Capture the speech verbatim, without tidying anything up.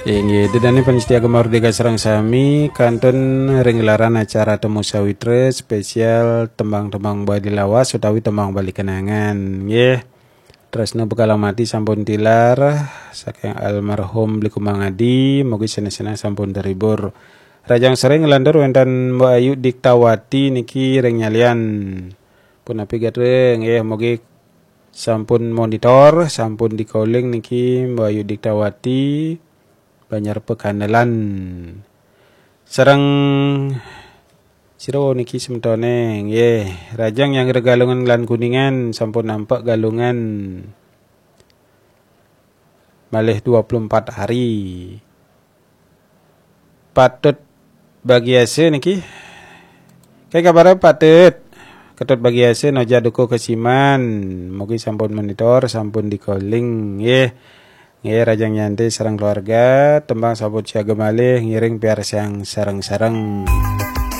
Inggih, ida dané pamiarsa Gema Merdeka sareng sami, kantun ring gelaran acara Temu Sawitra spesial tembang-tembang Bali lawas utawi tembang Bali kenangan. Nggih. Tresna Bekalang Mati sampun tilar saking almarhum Bli Kumang Adi, mugi sané-sané sampun terhibur. Rahajeng sareng nglantur wénten Mbok Ayu Diktawati niki ring Nyalian. Punapi gatra nggih, mugi sampun monitor, sampun di-calling niki Mbok Ayu Diktawati, Banjar Pekandelan. Sareng sira niki semetoné nggih, rahajeng nyanggra Galungan lan Kuningan, sampun nampak Galungan malih dua puluh empat hari. Patut Bagiasa niki. Kayak kabar Patut? Ketut Bagiasa Noja Dukuh Kesiman. Mugi sampun monitor, sampun di-calling nggih. Nggih, rahajeng nyantai sareng keluarga, tembang sampun siaga malih, ngiring piarsang sareng-sareng.